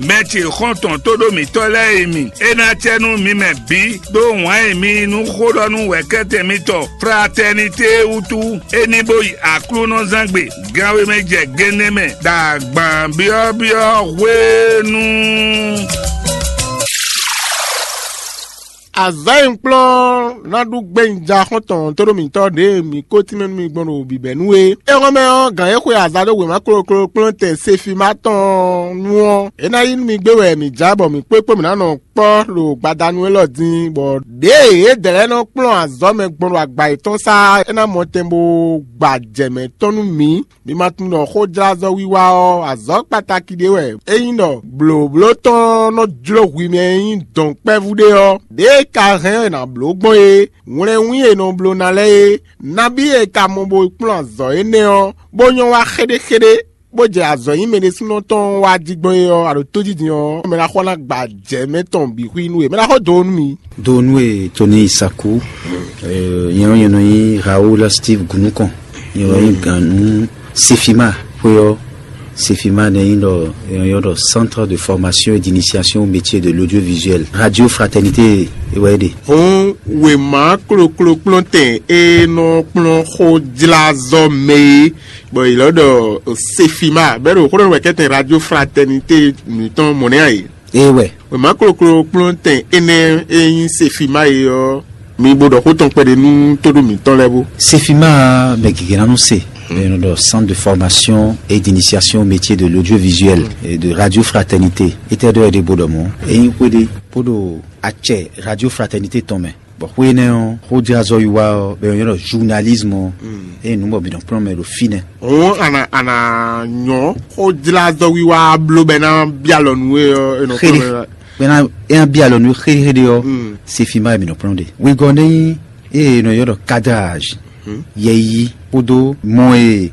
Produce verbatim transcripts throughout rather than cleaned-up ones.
Mɛ ce xɔ́ntɔn tóɖó mǐtɔn lɛ́ɛ e mi, é ná cɛ nú mi mɛ bǐ ɖó wǎn e mi yí nú xó ɖɔ nú wɛ̌kɛ́tɛn mitɔn Fratɛnité wútu, é ní bó yi Aklúnɔzángbe gánwé mɛ jɛ gěnɛ́ mɛ ɖo agban byɔ́byɔ́ hwenu. Azɔ̌ e un kplɔ́n ná ɖu gbɛ́nyijaxɔ́ntɔn tóɖó mǐtɔn ɖě e mǐ ko tínmɛ nú mi gbɔn ɖo bǐbɛ́nu é. Éhɔ́nmɛ ɔ́, gǎn e xwe azǎn ɖó wěma kloklo kplɔ́n tɛn Sefima tɔn nu ɔ́, é ná yí nú mi gbé wɛ mǐ já bɔ mǐ kpó kpó mǐ ná nɔ kpɔ́ ɖo gbadanu élɔ́ din, bɔ ɖěe yědɛɛ lɛ́ɛ nɔ kplɔ́n azɔ̌ mɛ gbɔn ɖo agba yětɔn sá é ná mɔ tɛn bó gba jɛ mɛ tɔn nú mǐ. Mi ma tunwun ɖɔ xójlázɔ́ wiwa ɔ́, azɔ̌ kpatáki ɖé wɛ é nyí ɖɔ blǒbló tɔn nɔ jló hwi mɛ e nyí dɔ̌nkpɛvú ɖé ɔ́. Ɖěe ka hɛn ɔ́, è nǎ bló gbɔn é. Wlɛnwín e è nɔ bló ná lɛ́ɛ é, nabí e ka mɔ bo kplɔ́n azɔ̌ énɛ́ ɔ́, bó nyɔ́ wá xéɖéxéɖé, bó jɛ azɔ̌ nyí mɛ ɖésúnɔ tɔn wá jí gbɔn é ɔ́, a ɖo tójijin ɔ́, mɛ ná xɔ ná gba jɛ mɛ tɔn bǐ xwí nú we. Mɛ ná xɔ do nú mi. Do nú e Tony Isaku, nyɛ ɔ́ nyɛ nɔ nyí Raoul Steve Gunukɔn, nyɛ nɔ nyí gǎn nú Sefima xwé ɔ́. Sefima nɛ nyí ɖɔ è nɔ ylɔ́ ɖɔ Centre de Formation et d'Initiation au Métier de l'Audiovisuel. Radio Fraternité é wɛ é ɖe. Hɔn wěma kloklo kplɔ́ntɛn e nɔ kplɔ́n xójlázɔ́ mɛ é, bɔ è ylɔ́ ɖɔ Sefima, bɛ́ ɖo xó ɖɔ nú wɛ̌kɛ́tɛn Radio Fraternité mǐtɔn mɔ̌ nɛ́ ǎ é. Ee wɛ. Wěma kloklo kplɔ́ntɛn énɛ́ e nyí Sefima é ɔ́, mi bo ɖɔ xó tɔn kpɛɖé nú tóɖó mǐtɔn lɛ́ɛ bó. Sefima mɛ gěgé ná nɔ se, enu ɖɔ Centre de Formation et d'Initiation au Métier de l'Audiovisuel et de Radio Fraternité. Étɛ́ ɖɔ é ɖe bó ɖɔ mɔ̌? É nyí xwé ɖé bó ɖo acɛ Radio Fraternité tɔn mɛ. Bɔ xwé énɛ́ ɔ́, xójlázɔ́ wiwa ɔ́, bɔ è nɔ ylɔ́ ɖɔ journalisme ɔ́, eye nǔ bɔ mǐ nɔ kplɔ́n mɛ ɖo fínɛ́. Hɔn a nǎ a nǎ nyɔ́ xójlázɔ́ wiwa bló bɔ é ná byɔ́ alɔ nú we ɔ́, è nɔ Xéɖé. Kplɔ́n mɛ. Bɔ é ná é ná byɔ́ alɔ nú we xéɖéxéɖé ɔ́, Mm. Sefima wɛ mǐ nɔ kplɔ́n ɖe. Wegɔ́ nɛ́ nyí ée è nɔ ylɔ́ ɖɔ cadrage, yɛyi kpódó mɔ e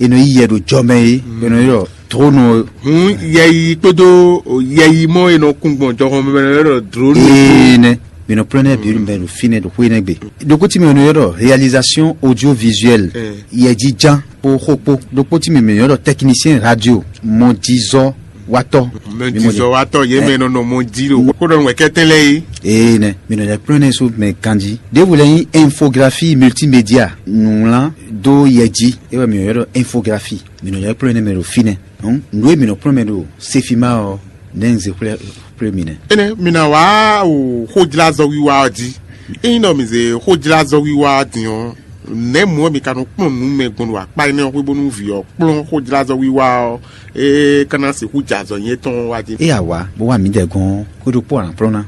è nɔ yí yɛ ɖo jɔ mɛ é, è nɔ ylɔ́ ɖɔ dronɔ. Hun yɛyi kpódó yɛyi mɔ e nɔ kún gbɔn jɔhɔn mɛ lɛ́ɛ ɖɔ dronɔ. Ee nɛ, mǐ nɔ kplɔ́n nɛ́ bǐ mɛ ɖo fínɛ́ ɖo xwé nɛ́ gbe. Ɖokpó tí mɛ è nɔ ylɔ́ ɖɔ réalisation audiovisuelle, yɛjiján kpó xó kpó. Ɖokpó tí mɛ è nɔ ylɔ́ ɖɔ technicien radio, mɔjizɔ́ watɔ́. Mɛ jizɔ watɔ yé mɛ nɔ nɔ mɔ jí ɖo kó ɖɔ nú wɛkɛtɛn lɛ yi. Ee nɛ, mǐ nɔ lɛ́ kplɔ́n nɛ́ sú mɛ ganjí. Ɖěvo lɛ́ nyí infographie multimédia, nǔwlán dó yɛ jí, é wɛ mǐ nɔ ylɔ́ ɖɔ infographie. Mǐ nɔ lɛ́ kplɔ́n nɛ́ mɛ ɖo fínɛ́. Hǔn nǔ e mǐ nɔ kplɔ́n mɛ ɖo Sefima ɔ́, nɛ́ un zé xwlé xwlé mi nɛ́. Énɛ́ mi ná wá o xójlázɔ wiwa ɔ́ jí. Ényí ɖɔ mǐ zé xójlázɔ wiwa ɔ́ din ɔ́, nɛ̌ mɔ̌ wɛ mi ka nɔ kplɔ́n nǔ mɛ gbɔn ɖo akpá énɛ́ ɔ́ xwé bónú vǐ ɔ́ kplɔ́n xójlázɔ wiwa ɔ́, é ka ná sixú jɛ azɔ̌ nyɛ tɔn wá jí? Ée a wǎ bó wá mǐdɛɛ gɔ́n ɔ́, xwé ɖokpó a nǎ kplɔ́n ná.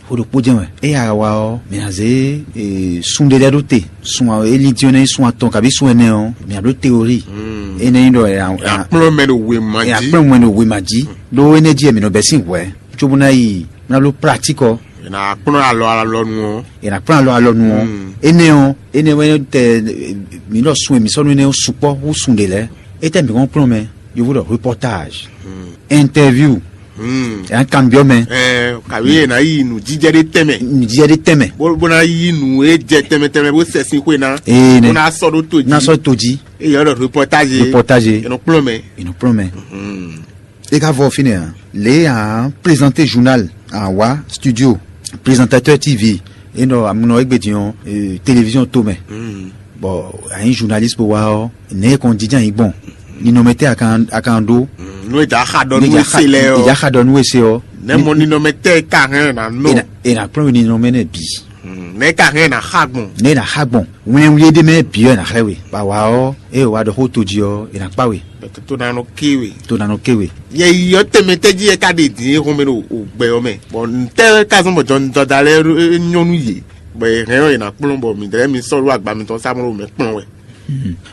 Xwé ɖokpó jɛ́n wɛ. Ée a wá ɔ́, mǐ ná zé sun ɖé lɛ́ɛ ɖó te. Sun élí dín ɔ́ nɛ́ nyí sun atɔn kabí sun ɛnɛ ɔ́, mǐ ná bló teorí. Énɛ́ nyí ɖɔ è nǎ kplɔ́n mɛ ɖo wěma jí. È nǎ kplɔ́n mɛ ɖo wěma jí. Ɖó énɛ́ jí wɛ mǐ nɔ bɛ́ sín hwɛ̌. Cóbó ná yi mí ná bló pratík ɔ́. È nǎ kplɔ́n alɔ alɔnu ɔ́. È nǎ kplɔ́n alɔ alɔnu ɔ́. Énɛ́ ɔ́, énɛ́ wɛ tɛ mǐ ɖɔ sun e mǐ sɔ́ nú énɛ́ ɔ́ sukpɔ́ hú sun ɖě lɛ́ɛ. Étɛ́ mǐ hɔn kplɔ́n mɛ? Yovo ɖɔ reportage, interview. È nǎ kanbyɔ́ mɛ. Kabi è nǎ yi nǔjíjɛ ɖé tɛnmɛ. Nǔjíjɛ ɖé tɛnmɛ. Bó bó ná yí nǔ e jɛ tɛnmɛ tɛnmɛ bó sɛ sín xwe ná. Ee nɛ. Bó ná sɔ́ ɖó to jí. Ná sɔ́ to jí. Eye ɔ́ ɖɔ reportage. Reportage. È nɔ kplɔ́n mɛ. È nɔ kplɔ́n mɛ. É ka vɔ fínɛ́ ǎ. Lě a présenté journal, a wá studio, présentateur T V, é nɔ amúnɔ égbé din ɔ́, télévision tó mɛ. Bɔ a nyí journaliste bó wá ɔ́, nɛ̌ kɔn jínjɔ́n ayǐ gbɔn? Ninɔmɛ tɛ́ a kan a kan ɖó? Nú è jǎ xa ɖɔ nú é se lɛ́ɛ ɔ́. È jǎ xa ɖɔ nú é se ɔ́. Nɛ̌ mɔ ninɔmɛ tɛ́ e ka hɛn ná nɔ? È nǎ kplɔ́n we ninɔmɛ nɛ́ bǐ. Nɛ̌ ka hɛn ná xa gbɔn? Nɛ̌ ná xa gbɔn? Wɛnwɛn ɖé mɛ bǐ wɛ ná xlɛ́ we. Bɔ a wǎ ɔ́, ée wa ɖɔ xó to jí ɔ́, è nǎ kpá we. Bɛtɛ tó ná nɔ ké we. Tó ná nɔ ké we. Yɛ yi ɔ́ tɛnmɛ tɛ́ jí yɛ ká ɖe dǐn e xɔmɛ ɖo gbɛ ɔ́ mɛ. Bɔ ntɛ́ ka zɔ́n bɔ jɔnjɔda lɛ́ɛ nyɔ́ nú yě, bɔ è hɛn ɔ́ è nǎ kplɔ́n bɔ mǐdɛɛ mi sɔ́ ɖó agba mitɔn sá mɔ ɖo mɛ kplɔ́n wɛ.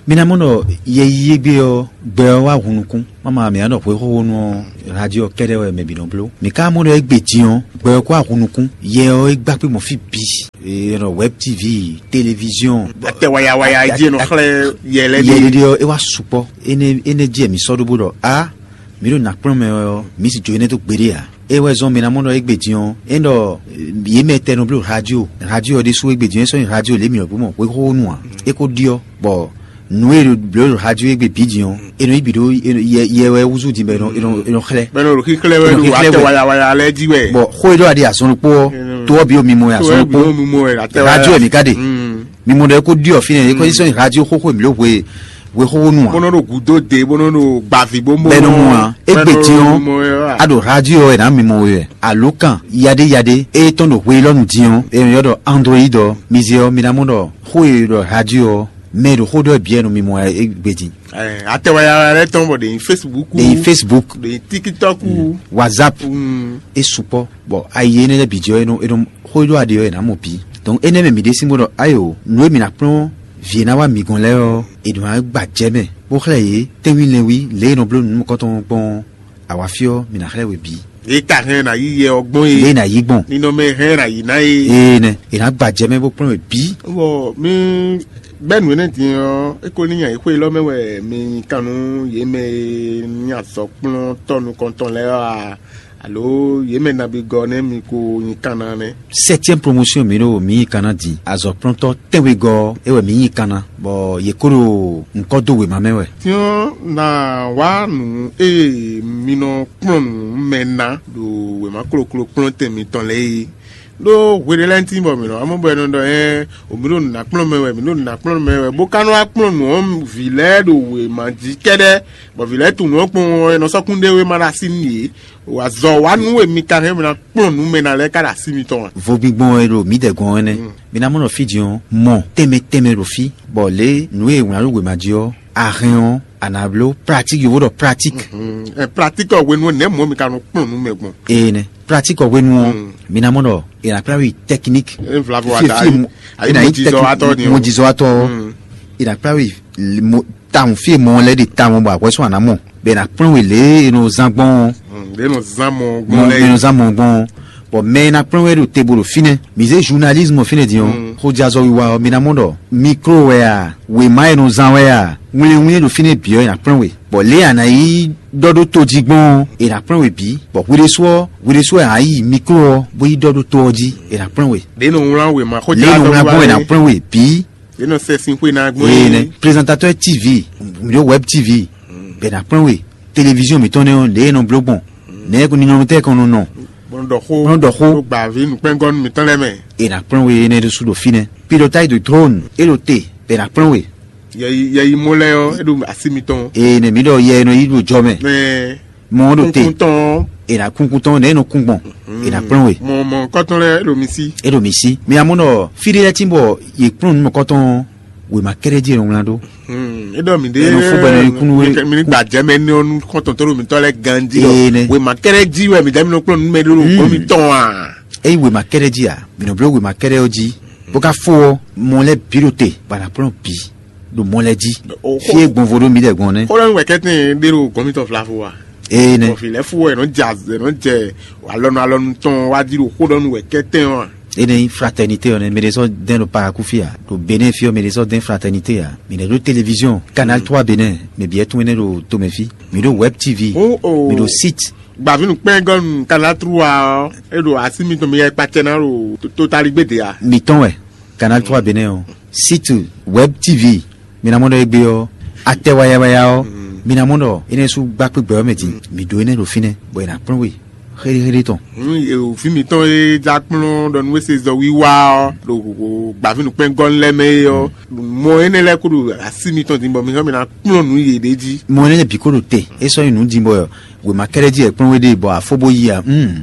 Mi ná mɔ ɖɔ yɛ yi égbé ɔ́, gbɛ ɔ́ wá hun nukún. Mama mi ná ɖɔ hwexóxónú ɔ́, radio kɛ́ɖɛ́ wɛ mɛ bǐ nɔ bló. Mǐ ka mɔ ɖɔ égbé din ɔ́, gbɛ ɔ́ kó wá hun nukún. Yɛ ɔ́ é gbá kpé mɔ fí bǐ. È nɔ wɛb T V, téléviziɔn. Atɛ wayawaya jí è nɔ xlɛ́ yɛ lɛ́ɛ Yɛ ɖe. Ɖéɖé ɔ́, é wá sukpɔ́. Énɛ́ énɛ́ jí wɛ mǐ sɔ́ ɖó bó ɖɔ á, mǐ ɖo nǎ kplɔ́n mɛ wɛ ɔ́, mǐ sì jó énɛ́ dó gbeɖé ǎ. É wɛ zɔ́n mǐ ná mɔ ɖɔ égbé din ɔ́, é ɖɔ yě mɛ tɛn nɔ bló radio. Radio ɔ́ ɖésú égbé din ɔ́, é sɔ́ nyi radio lě mǐ nɔ bló mɔ hwexóxónú ǎ. É ko ɖyɔ́ bɔ Nǔ e ɖo blǒ ɖo radio égbé bǐ din ɔ́, è nɔ yí bǐ ɖó yɛ wɛ wúzú din bɔ è nɔ xlɛ́. Bɔ è nɔ ɖo xíxlɛ́ wɛ ɖo atɛ wayawaya lɛ́ɛ jí wɛ. Bɔ xó e ɖɔ a ɖi azɔn ɖokpó ɔ́, tó ɔ́ bǐ ɖo mimɔ wɛ azɔn ɖokpó. Radio wɛ mǐ ka ɖe. Mimɔ ɖɔ é kó ɖiɔ fínɛ́ é kó sɔ́ nyi radio xóxó mǐ ɖo hwe hwe xóxó nu ǎ. Bó nɔ ɖo gǔdo de bó nɔ ɖo gbavǐ bó mɔ. Bɛ́ nɔ mɔ ǎ. Égbé din ɔ́, a ɖo radio ɔ́ è nǎ mimɔ we wɛ. Alo kan yaɖé yaɖé e tɔn ɖo hwe élɔ́ nu din ɔ́, è nɔ ylɔ́ ɖɔ Android ɔ́, mi zé ɔ́, mi ná mɔ ɖɔ xó e ɖɔ radio ɔ́, mɛ e ɖo xó ɖɔ bǐ wɛ nɔ mimɔ wɛ égbé din. Atɛwaya lɛ́ɛ tɔn bɔ ɖe nyi Facebook, ɖe nyi Facebook, ɖe nyi TikTok, WhatsApp, é sukpɔ́. Bɔ ayi énɛ́ lɛ́ɛ bǐ jɛ ɔ́, é nɔ é nɔ xó e ɖó aɖe ɔ́, è nǎ mɔ bǐ. Donc énɛ́ mɛ mǐ ɖésú bó ɖɔ ayo, nǔ e mǐ ná kplɔ́n vǐ e ná wá mǐ gɔ́n lɛ́ɛ ɔ́, è nɔ wá gba jɛ mɛ, bó xlɛ́ yě tɛ́nwínlɛnwí lě e è nɔ bló nǔnukɔntɔn gbɔn ɔ́, awǎ fí ɔ́, mǐ ná xlɛ́ we bǐ. Yě ka hɛn ná yí yɛ ɔ́ gbɔn é. Lě e è nǎ yí gbɔn. Ninɔmɛ hɛn ná yí ná é. Ee nɛ, è nǎ gba jɛ mɛ bó kplɔ́n we bǐ. Bɔ mi bɛ́ nǔ énɛ́ din ɔ́, é ko ní nyi ayǐxwé élɔ́ mɛ wɛ mi nyi kan nú yě mɛ e nyí azɔ̌kplɔ́ntɔ́ nukɔntɔn lɛ́ɛ ɔ́ a? Alo yě mɛ nabigɔ nɛ́ mi ko nyi kan ná nɛ́? Sɛ́tiɛ́m promotion mǐ ɖo mǐ nyi kan ná din. Azɔ̌kplɔ́ntɔ́ tɛ́nwegɔ́ ɔ́, é wɛ mǐ nyi kan ná, bɔ yě ko ɖo nǔkɔ dó wěma mɛ wɛ. Tíɔ́n ná wá nǔ e mi nɔ kplɔ́n nǔ mɛ ná ɖo wěma kloklo kplɔ́ntɛn mitɔn lɛ́ɛ é. Ɖó hwe ɖé lɛ́ɛ tín bɔ mǐ nɔ wá mɔ bɔ è nɔ ɖɔ ɛ o mǐ ɖo nǔ ná kplɔ́n mɛ wɛ, mǐ ɖo nǔ ná kplɔ́n mɛ wɛ, bó ka nɔ wá kplɔ́n nǔ ɔ́ vǐ lɛ́ɛ ɖo wěma jí kɛ́ɖɛ́, bɔ vǐ lɛ́ɛ tunwun ɔ́ kpɔ́n ɔ́, è nɔ sɔ́ kún ɖé wé ma ɖo así nú yě. Azɔ̌ wa nú e mi ka hɛn mǐ ná kplɔ́n nǔ mɛ ná lɛ́ɛ ká ɖo así mitɔn a? Vogbingbɔn e ɖo mǐdɛɛ gɔ́n ɔ́ nɛ́. Mi ná mɔ ɖɔ fí din ɔ́, mɔ tɛnmɛ tɛnmɛ ɖo fí, bɔ lě nǔ e è wlǎn ɖó wěma jí ɔ́, a hɛn ɔ́, a nǎ bló pratique, yovo ɖɔ pratique. Pratique ɔ́ hwenu ɔ́, nɛ̌ mɔ̌ mi ka nɔ kplɔ́n nǔ mɛ gbɔn? Ee nɛ, pratique ɔ́ hwenu ɔ́, mi ná mɔ ɖɔ è nǎ kplá wi technique. Flavor fie ata fie yi. Mo- Ayi è nǎ yi mɔjizɔ tɛk- atɔ ni o. Mɔjizɔ atɔ. È nǎ kplá wi mo- tawun fie mɔ lɛ́ ɖe tawun bɔ akwɛ́ sɔn àná mɔ, bɔ è nǎ kplɔ́n we lě e è nɔ zán gbɔn ɔ́. Lě nɔ zán mɔ mɔ gbɔn lɛ. Mɛ nɔ zán mɔ gbɔn ɔ́. Bɔ mɛ e ná kplɔ́n we ɖo te bo ɖo fínɛ́. Mi zé journalisme fínɛ́ din ɔ́, xójázɔ wiwa ɔ́, mi ná mɔ ɖɔ mikro wɛ a, wěma e nɔ zán wɛ a, wlɛnwlɛn ɖo fínɛ́ bǐ ɔ́, è nǎ kplɔ́n we. Bɔ lě e a nǎ yi ɖɔ ɖó tojí gbɔn ɔ́, è nǎ kplɔ́n we bǐ. Bɔ hwi ɖésú ɔ́, hwi ɖésú wɛ a yi mikro ɔ́, bó yi ɖɔ ɖó to ɔ́ jí, è nǎ kplɔ́n we. Lě nɔ wlán wěma xójázɔ wiwa. Lě nɔ wlán gbɔn è nǎ kplɔ́n we bǐ. Yě nɔ sɛ sín xwé ná gbɔn. Ee nɛ, présentateur T V, mǐ ɖo web T V, bɛ ná kplɔ́n we, télévision mǐtɔn nɛ́ ɔ́, lě e nɔ bló gbɔn, nɛ̌ ninɔmɛtɛ́ kan nɔ nɔ. Bɔn ɖɔ xó. Bɔn ɖɔ xó. Ɖo gbǎví nukpɛngɔ́nú mǐtɔn lɛ́ɛ mɛ. È nǎ kplɔ́n we énɛ́ ɖésú ɖo fínɛ́. Pilotage de drone é ɖo te, bɛ ná kplɔ́n we. Yɛyi yɛyi mɔ lɛ́ɛ ɔ́, é ɖo así mitɔn. Ee nɛ, mǐ ɖɔ yɛ e nɔ yí ɖo jɔ mɛ. Mɛ. Mɔ ɔ́ ɖo te. Kúnkúntɔn. È nǎ kúnkún tɔn nɛ̌ è nɔ kún gbɔn. È nǎ kplɔ́n we. Mɔ mɔ̌kɔtɔn lɛ́ɛ ɖo mi sí. É ɖo mi sí. Mi amú nɔ fí ɖé lɛ́ɛ tín bɔ yě kplɔ́n nǔ mɔ̌kɔtɔn wěma kɛ́ɖɛ́ jí è nɔ wlán ɖó. É ɖɔ mi ɖé. È nɔ fún bɔ è nɔ yi kúnú wé. Mi ní gba jɛ mɛ ní ɔ́ nú xɔ́ntɔn tó ɖo mi tɔ́ lɛ́ɛ ganjí. Ee nɛ. Wěma kɛ́ɖɛ́ jí wɛ mi dɛ́ mi nɔ kplɔ́n nǔ mɛ ɖó ɖo gɔ́ mi tɔn a? Ényí wěma kɛ́ɖɛ́ jí a, mǐ nɔ bló wěma kɛ́ɖɛ́ ɔ́ jí, bó ka fó ɔ́, mɔ lɛ́ɛ bǐ ɖo te, bɔ a nǎ kplɔ́n bǐ ɖo mɔ lɛ́ɛ jí. Fí e gbɔnvo ɖó mǐdɛɛ gbɔn nɛ́. Xó ɖɔ nú wɛ̌kɛ́tɛn ɖé ɖo gɔ́mítɔn Vlavo a? Ee nɛ. Bɔ vǐ lɛ́ɛ fú wɛ è nɔ jɛ azɛ è nɔ jɛ alɔnu alɔnu tɔn wá jí ɖo xó ɖɔ nú wɛ̌kɛ́tɛn ɔ́ a? Énɛ́ nyí fraternité ɔ́ nɛ́, mɛ ɖé sɔ́ dɛn ɖo Parakou fí a, ɖo Benin fí ɔ́ mɛ ɖé sɔ́ dɛn fraternité a, mǐ nɛ́ ɖó télévision Canal trois Benin, mɛ bǐ wɛ tún énɛ́ ɖo tomɛ fí, mǐ ɖó web T V, mǐ ɖó site. Gbavǐnu kpɛ́ngɔ́nu Canal trois ɔ́, é ɖo así mitɔn mi yɛ kpacɛ ná ɖo totaligbéde a? Mǐtɔn wɛ Canal trois Benin ɔ́, site web T V, mi ná mɔ ɖɔ égbé ɔ́, atɛ wayawaya ɔ́, mi ná mɔ ɖɔ énɛ́ sú gbá kpé gbɛ ɔ́ mɛ din, mǐ ɖó énɛ́ ɖo fínɛ́, bɔ è nǎ kplɔ́n we xéɖéxéɖé tɔn. Fí mitɔn e já kplɔ́n ɖɔ nú ése zɔ wiwa ɔ́ ɖo gbavǐnu kpɛ́ngɔ́nu lɛ́ɛ mɛ é ɔ́, mɔ énɛ́ lɛ́ɛ kó ɖo así mitɔn din bɔ mi hɛn mi ná kplɔ́n nǔ yěɖée jí. Mɔ énɛ́ lɛ́ɛ bǐ kó ɖo te, é sɔ́ nyí nǔ din bɔ wěma kɛ́ɖɛ́ jí wɛ kplɔ́n we ɖe bɔ a fó bó yi a?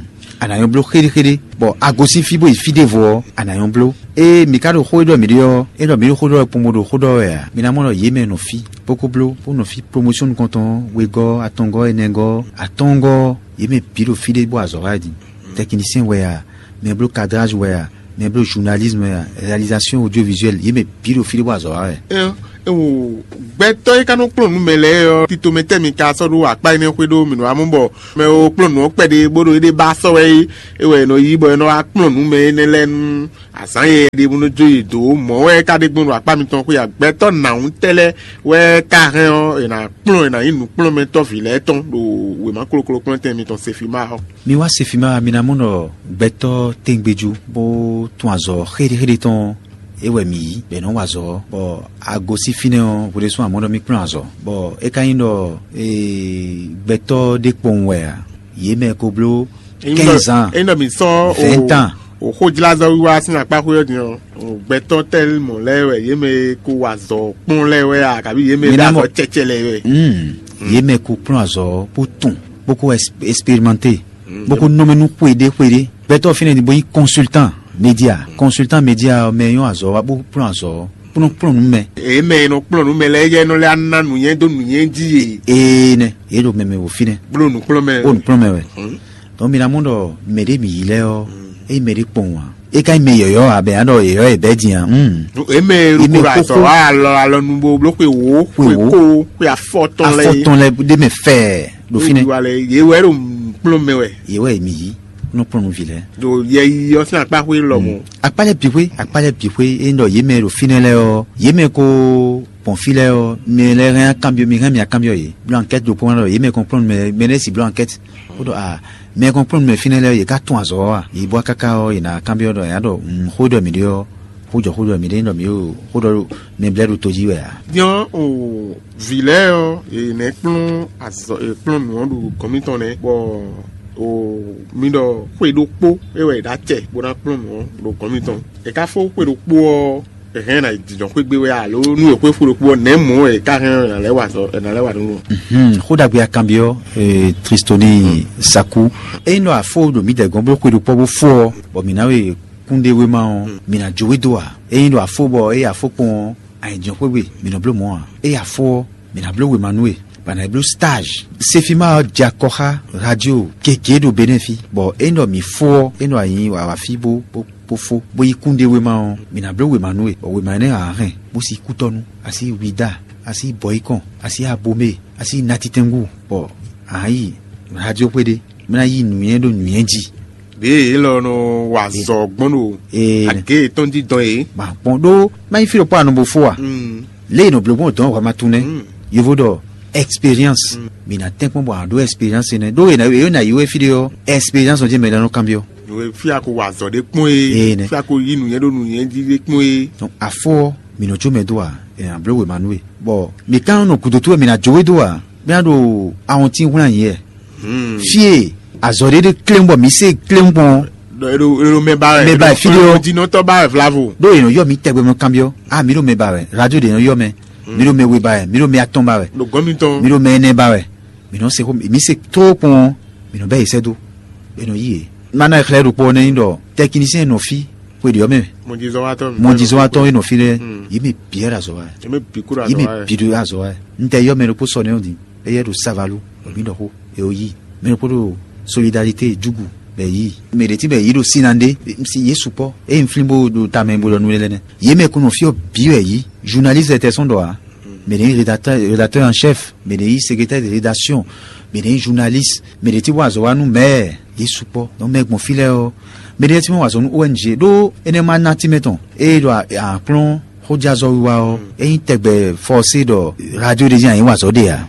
A nǎ nyɔ́ bló xéɖéxéɖé, bɔ a gosín fí bó yi fí ɖěvo ɔ́, a nǎ nyɔ́ bló. Ée mi ka ɖo xó e ɖɔ mǐ ɖe ɔ́, é ɖɔ mǐ ɖo xó ɖɔ wɛ kpombo ɖo xó ɖɔ wɛ a? Mi ná mɔ ɖɔ yě mɛ nɔ fí bó ko bló bó nɔ fí promotion nukɔntɔn wegɔ́ atɔngɔ́ ɛnɛgɔ́ atɔngɔ́, yě mɛ bǐ ɖo fí ɖé bó azɔ̌ wá din. Technicien wɛ a, mɛ bló cadrage wɛ a, mɛ bló journalisme wɛ a, réalisation audiovisuelle, yě mɛ bǐ ɖo fí ɖé bó azɔ̌ wá wɛ. Ewo, gbɛtɔ́ e ka nɔ kplɔ́n nǔ mɛ lɛ́ɛ ɔ́, tito mɛ tɛ́ mi ka sɔ́ ɖó akpá énɛ́ xwé ɖó mǐ nɔ wá mɔ bɔ mɛ wo kplɔ́n nǔ ɔ́ kpɛɖé bó ɖo éɖée ba sɔ́ wɛ é, é wɛ è nɔ yí bɔ è nɔ wá kplɔ́n nǔ mɛ énɛ́ lɛ́ɛ nú azǎn e ɖe bó nɔ jó yě dó. Mɔ̌ wɛ é ka ɖe gbɔn ɖo akpá mitɔn xwé a? Gbɛtɔ́ nǎwúntɛ́ lɛ́ɛ wɛ ka hɛn ɔ́, è nǎ kplɔ́n è nǎ nyí nǔkplɔ́nmɛtɔ́ vǐ lɛ́ɛ tɔn ɖo wěma kloklo kplɔ́n tɛn mitɔn Sefima ɔ́. Mi wá Sefima, mi ná mɔ ɖɔ gbɛtɔ́ tɛngbéjú bó tún azɔ̌ xéɖéxéɖé tɔn É wɛ mǐ yí bɔ è nɔ́ wa azɔ̌ ɔ́, bɔ a gosín fínɛ́ ɔ́, hwe ɖésú amɔ̌ ɖɔ mì kplɔ́n azɔ̌, bɔ é ka nyí ɖɔ gbɛtɔ́ ɖé kpowun wɛ ǎ. Yě mɛ ko bló quinze ans, ényí ɖɔ mi sɔ́ vingt ans. O xójlázɔ́ wíwá sín akpá xwé ɔ́ din ɔ́, gbɛtɔ́ tɛ́ mɔ̌ lɛ́ɛ wɛ, yě mɛ e ko wa azɔ̌ kpɔ́n lɛ́ɛ wɛ a, kabi yě mɛ e ɖo azɔ̌ cɛcɛ lɛ́ɛ wɛ. Yě mɛ ko kplɔ́n azɔ̌ bó tunwun, bó ko expérimenter, bó ko nɔmɛ nú xwe ɖé xwe ɖé. Gbɛtɔ́ fínɛ́ din bó nyí consultant média. Consultant média ɔ́, mɛ e nyɔ́ azɔ̌ wa bó kplɔ́n azɔ̌ ɔ́, kplɔ́n kplɔ́n nǔ mɛ. Èyí mɛ e nɔ kplɔ́n nǔ mɛ lɛ́ɛ yɛ nɔ lɛ́ ná nǔnywɛ́ dó nǔnywɛ́ jí e. Ee nɛ, yě ɖo mɛmɛ wò fínɛ́. Bló nǔkplɔ́n mɛ. Ó nǔkplɔ́n mɛ wɛ. Donc mi ná mɔ ɖɔ mɛ ɖé mǐ yi lɛ́ɛ ɔ́, ényí mɛ ɖé kpɔn wǎ, é ka nyí mɛ yɔ̌yɔ́ ǎ, bɛ ná ɖɔ yɔ̌yɔ́ yɛ bɛ́ din ǎ. Èyí mɛ e ɖo azɔ̌ wa alɔ alɔ nu bo bló xwe wǒ, xwe kó, xwe afɔtɔn lɛ́ɛ. Afɔtɔn lɛ́ɛ ɖé mɛ fɛɛ ɖo fínɛ́. Yě wɛ ɖo kplɔ́n mɛ wɛ. Yě wɛ mǐ yi nɔ kplɔ́n nú vǐ lɛ́ɛ. Ɖo yɛ yi ɔ́ sín akpá xwé lɔmɔ̌. Akpá lɛ́ɛ bǐ xwé, akpá lɛ́ɛ bǐ xwé, é ɖɔ yě mɛ e ɖo fínɛ́ lɛ́ɛ ɔ́, yě mɛ ko gbɔn fí lɛ́ɛ ɔ́, mɛ lɛ́ɛ hɛn kanbyɔ́, mi hɛn mì akanbyɔ́ yě. Bló ankɛ́t ɖokpó wá ɖɔ yě mɛ kɔn kplɔ́n mɛ, mɛ lɛ́ɛ si bló ankɛ́t. Bó ɖɔ a mɛ kɔn kplɔ́n mɛ fínɛ́ lɛ́ɛ yě ká tún azɔ̌ ɔ́ a? Yě bó káká ɔ́, yě ná kanbyɔ́ ɖɔ yě ná ɖɔ xó ɖɔ mǐ ɖe ɔ́, xó jɔ xó ɖɔ mǐ ɖe, ɖɔ mǐ ɖo xó ɖɔ mɛ blɛ́ ɖo tó jí wɛ a? Din ɔ́, vǐ lɛ́ɛ ɔ́, è nɛ́ kplɔ́n azɔ̌, è kplɔ́n nǔ ɔ́ ɖo gɔ̌n mitɔn nɛ́, bɔ o mi ɖɔ xwe ɖokpó é wɛ è ɖó acɛ bó ná kplɔ́n nǔ ɔ́ ɖo gɔ̌n mitɔn. È ká fó xwe ɖokpó ɔ́, è hɛn ná jǐjɔ́n xwé gbé wɛ alo nú è xwe xwe ɖokpó ɔ́, nɛ̌ mɔ̌ è ká hɛn ɔ́, è nǎ lɛ́ wa azɔ̌, è nǎ lɛ́ wa nǔ ɔ́? Xó ɖagbe akanbyɔ́ Tristoni Saku. Ényí ɖɔ a fó ɖo mǐdɛɛ gɔ́n bló xwe ɖokpó bó fó ɔ́, bɔ mǐ ná we kúnɖéwéma ɔ́, mǐ ná jó we dó ǎ. Ényí ɖɔ a fó bɔ ényí a fó kpɔ́n ɔ́, a nyi jǐnxwé gbe, mǐ nɔ bló mɔ̌ ǎ. Ényí a fó ɔ́, mǐ ná bló wěma nú we, bɔ a nǎ yi bló stage. Sefima ɔ́ jɛ akɔ xá radio gěgé ɖo Benɛ́ fí, bɔ ényí ɖɔ mǐ fó ɔ́, ényí ɖɔ a nyi awǎ fí bó bó bó fó, bó yi kúnɖéwéma ɔ́, mǐ ná bló wěma nú we, bɔ wěma énɛ́ ǎ hɛn, bó sí kútɔ́nú, a sí Wida, a sí Bɔyikɔn, a sí Abomé, a sí Natitɛngu, bɔ a nǎ yi radio xwé ɖé, bó ná yí nǔnywɛ́ ɖo nǔnywɛ́ jí. Ɖěe élɔ́ nɔ wa azɔ̌ gbɔn ɖo Ee, agě yětɔn jí dɔn é. Ma kpɔn ɖó má nyí fí ɖokpó anɔ bo fó a? Lě e nɔ bló gbɔn dɔn hwɛ ma tunɛ. Yovo ɖɔ expérience. Mi na tɛn kpɔn bɔ a ɖó expérience nɛ. Ɖó e na yi wɛ fí ɖé ɔ́, expérience ɔ́ jẹ́ mɛ ɖe nɔ kanbyɔ. Fí a ko wa azɔ̌ ɖé kpɔn é. Ee, nɛ. Fí a ko yí nǔnywɛ́ ɖó nǔnywɛ́ jí ɖé kpɔn é. Donc afɔ mi nɔ jó mɛ dó a? Ɛ a bló wěma nú we. Bɔ mi ka nɔ gǔdo towe mi na jó we dó a? Mi na ɖo ahɔntín hwlɛ́n anyi yɛ. Fie azɔ̌ ɖé ɖé kléŋ bɔ mi se kléŋ gbɔn. Ɖɔ e ɖo e ɖo mɛ ba wɛ. Mɛ ba wɛ, fí ɖé ɔ. Jinɔtɔ ba wɛ vlavo. Ɖó yě nɔ yɔ mi tɛgbɛ mɔ kanbyɔ. A mi ɖo mɛ ba wɛ, radio ɖé nɔ yɔ mɛ. Mi ɖo mɛ we ba wɛ, mi ɖo mɛ atɔn ba wɛ. Ɖo gɔn mitɔn. Mi ɖo mɛ ɛnɛ ba wɛ. Mi nɔ se xó mi se tó kpɔn. Mi nɔ bɛ yi sɛ dó. E nɔ yi yě. Mana xlɛ ɖokpɔ nɛ nyi ɖɔ tɛkinisiyɛn nɔ fí xwe ɖiɔ mɛ. Mɔjizɔwatɔ. Mɔjizɔwatɔ e nɔ fí lɛ. Yi mi biɛ ɖo azɔ wa. Yi mi bi kúrò azɔ wa. Yi mi bi ɖo azɔ wa. N tɛ yɔ mɛ ɖokpó sɔ nɛ o di. Eyɛ ɖo savalu. Mi ɖɔ xó. E o yi. Mɛ ɖokpó ɖo solidarité jugu. Bɛ yi. Mɛ ɖe ti bɛ yi ɖo sinande. Si Yesu kpɔ. E n flin bo ɖo tamɛ bo ɖɔ nu lɛ nɛ. Ye mɛ ko nɔ fí ɔ bi wɛ yi. Journaliste tɛ sɔn ɖɔ a. Mɛ ɖe rédacteur rédacteur en chef. Mɛ ɖe yi secrétaire de rédaction. Mɛ ɖe yi journaliste. Mɛ ɖe ti wa azɔ wa nu mɛ. Yesu kpɔ. Donc mɛ gbɔn fí lɛ ɔ. Mɛ ɖe ti mɛ wa azɔ nu O N G ɖó enɛ ma na ti mɛ tɔn. Eye ɖo akplɔn xójázɔ wiwa ɔ, eyin tɛgbɛ fɔse ɖɔ radio ɖe zi anyi wa azɔ ɖe a.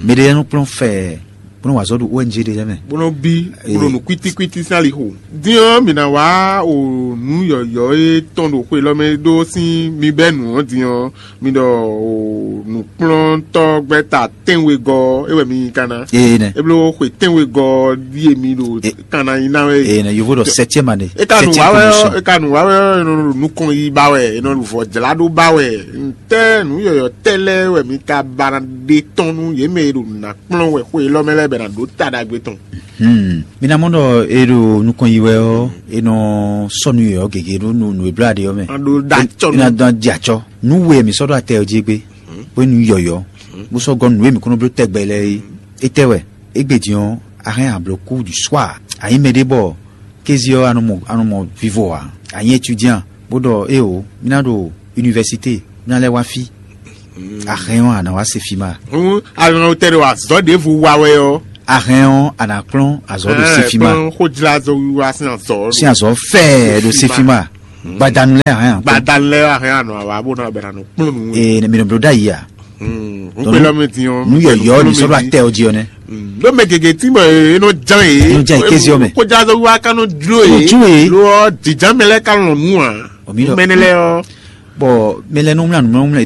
Mɛ ɖe nɔ kplɔn fɛ bó nɔ wa azɔ ɖo O N G ɖe lɛ mɛ. Bó nɔ bí bó nɔ nu kwítíkwítí sín alixo. Din ɔ́, mǐ ná wá o nǔ yɔ̌yɔ́ e tɔn ɖo xwe lɔ mɛ ɖó sín mi bɛ́ nǔ ɔ́ din ɔ́, mi ɖɔ o nǔkplɔ́ntɔ́gbɛ́ta tɛ́nwegɔ́ é wɛ mi nyi kana. Ee nɛ. E bló xwe tɛ́nwegɔ́ ɖíe mi ɖo kana nyi ná wɛ. Ee nɛ, yovo ɖɔ septième année. E ka nǔ wa wɛ ɔ́, e ka nǔ wa wɛ ɔ́, e nɔ ɖo nukɔn yi ba wɛ, e nɔ ɖo vɔ̌ jlá ɖó ba wɛ. Ntɛ́ nǔ yɔ̌yɔ́ tɛ́ lɛ́ɛ wɛ mi ka ba ná ɖe tɔn nú yě mɛ e ɖo nǔ ná kplɔ́n wɛ xwe élɔ́ mɛ lɛ́ɛ bɛ ná ɖó ta ɖagbe tɔn. Hmm. Mi ná mɔ ɖɔ e ɖo nukɔn yi wɛ ɔ́, e nɔ sɔ́ nú yɔ̌yɔ́ gěgé ɖó nú nǔ e bló aɖe ɔ́ mɛ. A ɖó ɖo acɔ E ná dɔn jɛ acɔ. Nú we mi sɔ́ ɖó atɛ ɔ́ jí égbé, bó nú yɔ̌yɔ́, bó sɔ́ gɔ́ nǔ e mǐ kún nɔ bló tɛgbɛ lɛ́ɛ é. Étɛ́ wɛ? Égbé din ɔ́, a hɛn a blǒ cours du soir. A nyí mɛɖé bɔ kéze ɔ́ a nɔ mɔ a nɔ mɔ vivo ǎ. A nyí étudiant, bó ɖɔ éeǒ, mí ná ɖo université, mí ná lɛ́ wá fí. A hɛn ɔ́, a nǎ wá se fí ma? Hǔn a nɔ tɛ ɖo azɔ̌ ɖěvo wa wɛ ɔ́. A hɛn ɔ́, a nǎ kplɔ́n azɔ̌ ɖo se fí ma? Kplɔ́n xójlázɔ wiwa sín azɔ̌. Sín azɔ̌ fɛ́ɛ ɖo se fí ma. Gbadanu lɛ́ɛ a hɛn a kplɔ́n? Gbadanu lɛ́ɛ a hɛn a nɔ awa bó ná bɛ na nɔ kplɔ́n nǔ. Ee, mi nɔ bló ɖ'ayǐ a? Hukpe lɔ mɛ din ɔ́. Nú yɔ̌yɔ́ mi sɔ́ ɖo atɛ ɔ́ jí ɔ́ nɛ́. Ɖó mɛ gěgé tí bɔ é nɔ ján yě. É nɔ ján yě kéze ɔ́ mɛ. Xójlázɔ wiwa ka nɔ jló yě. Jló yě. Lo ɔ́, jǐján mɛ lɛ́ɛ ka lɔn nǔ ǎ. Ɔ, mi ɖɔ mɛnɛ lɛ ɔ. Bɔ mɛ lɛ nɔ wlán nǔmlánú mlɛ